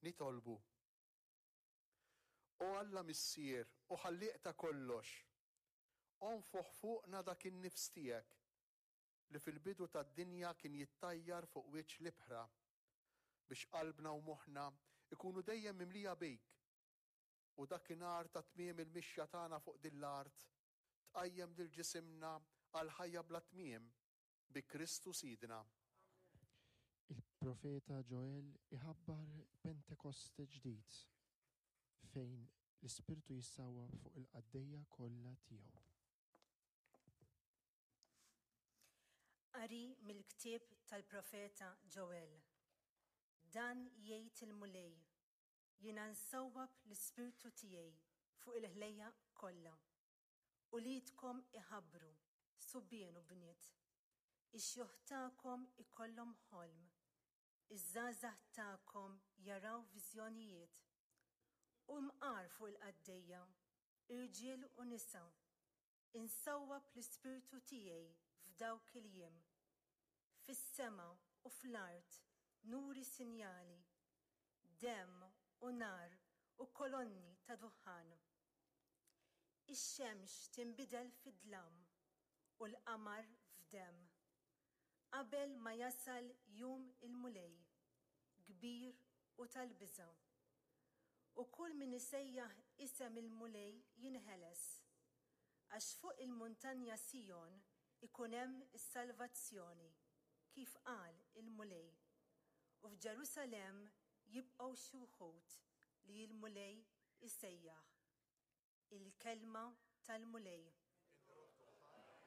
Nitolbu. O Alla Missier u Ħallieq ta' kollox, onfoħ fuqna dak in-nifs tiegħek li fil-bidu tad-dinja kien jittajjar fuq wiċċ l-ibħra, biex qalbna u moħħna jkunu dejjem mimlija bik, u dakinhar ta' tmiem il-mixja tagħna fuq din l-art, tqajjem lil ġisimna għal ħajja bla tmiem, bi Kristu Sidna. Il-profeta Ġoel iħabbar Pentekoste ġdid fejn l-Ispirtu jissawwab fuq il-qaddejja kollha tiegħu. Qari mill-ktieb tal-profeta Ġoel. Dan jgħid il-Mulej, Jiena nsawwab l-Ispirtu tiegħi fuq il-ħlejjaq kollha. Uliedkom iħabbru, subien u bniet. Ix-xjuħ tagħkom ikollhom ħolm. Iż-żgħażagħ tagħkom jaraw viżjonijiet. U mqar fuq il-qaddejja, irġiel u nisa, Insawwab l-Ispirtu tiegħi f'dawk il-jiem. Fis-sema u fl-art nuri sinjali, demm u nar u kolonni ta' duħħan. Ix-xemx tinbidel fi dlam u l-qamar f'demm, qabel ma jasal jum il-Mulej, kbir u tal-biża'. U kull min isejjaħ isem il-Mulej jinħeles. Għax fuq il-muntanja Sijon ikun hemm is-salvazzjoni, kif qal il-Mulej, u f'Ġerusalemm jibqgħu xi wħud li l-Mulej isejjaħ. Il-kelma tal-Mulej.